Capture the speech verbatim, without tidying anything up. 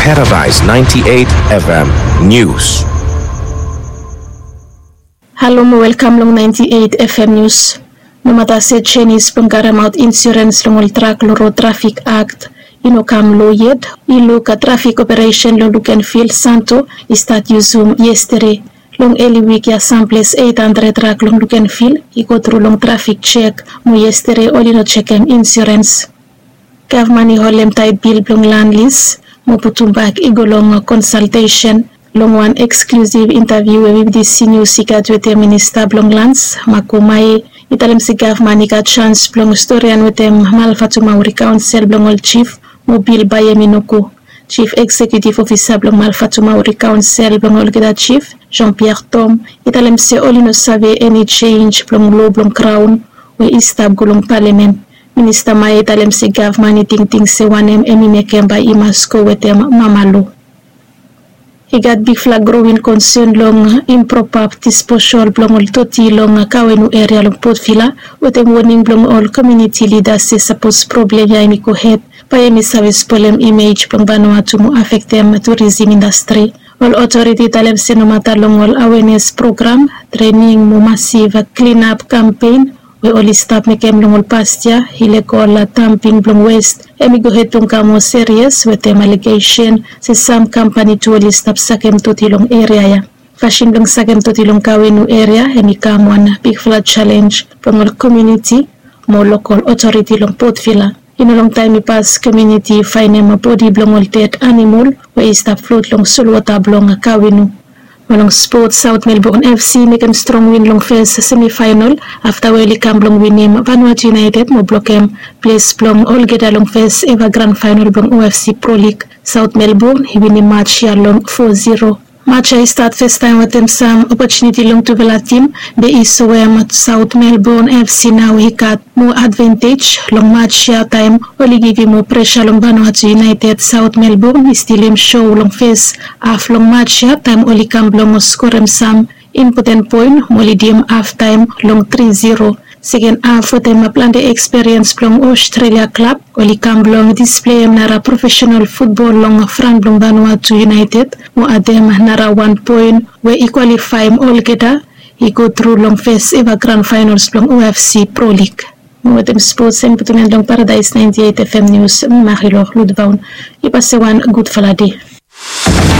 Paradise ninety-eight F M News. Halo mo welkam long ninety-eight F M News. Nomata se jenis blong karemaot insurens long ol trak long Road Traffic Act i no kam lo yet, i luk trafik operesen long Lukenvil Santo i stat yusum yestede. Long eli wik ya samples eight hundred trak long Lukenvil i go tru long trafik jek, mo yestede oli no jekem insurens. Gavman i holem taet bil blong lan lis mo putumbak i go long konsaltesen. Long wan eksklusiv intaviu we B B C News i gat wetem minista blong lans, Maku Maye, i talem se gavman i gat jans blong storian wetem Malfatumauri Kaonsel blong ol jif mo bil bae hem i no go. Jif Eksekiutiv Ofisa blong Malfatumauri Kaonsel blong olgeta jif, Jean Pierre Tom, i talem se oli no save eni jenj blong loa blong kraon we i stap go long palamen. Minista Maye i talem se gavman i tingting se wanem hem i mekem bae i mas go wetem mama loa. I gat bigfala growing konsen long impropa disposal blong ol doti long Kawenu eria long Port Vila, wetem woning blong ol komuniti lidas se sapos problem ya hem i gohed, bae hem i save spolem imej blong Vanuatu mo afektem turisim indastri. Ol otoriti i talem se nomata long ol awenes program, trening mo masiv klinap kampen we oli stap mekem long ol past yia, ilegol damping blong wes hem i gohed blong kam moa serias wetem alegesen se sam kampani tu oli stap sakem doti long eria ya. Fasin blong sakem doti long Kawenu eria hem i kam wan bigfala jalenj blong ol komuniti mo lokol otoriti long Port Vila. I no longtaem i pas komuniti i faenem bodi blong ol ded anamol we i stap flot long solwota blong Kawenu. Mo long spot, South Melbourne F C i mekem strong win long fes semifaenol afta we oli kam blong winim Vanuatu United mo blokem ples blong olgeta long fes eva gran faenol blong O F C Pro League. South Melbourne i winim maj ya long four zero. Maj ya i stat fastaem wetem sam opotuniti long tufala tim, be i soem South Melbourne F C nao i gat moa advantej long maj ya taem oli givim moa presa long Vanuatu United. South Melbourne i stilim so long fes haf long maj ya taem oli kam blong skorem sam impoten poen mo lidim haftaem long tri zero. Seken haf wetem plante ekspiriens blong Australia klab, oli kam blong displeim nara profesenal futbol long fran blong Vanuatu United mo adem nara wan poen we i kwalifaem olgeta i go tru long fes eva gran faenol blong O F C Pro League. Mo wetem spots, hemi putum en long Paradise ninety-eight F M News, mi Marilou Ludvaun. Yu pasem wan gudfala dei.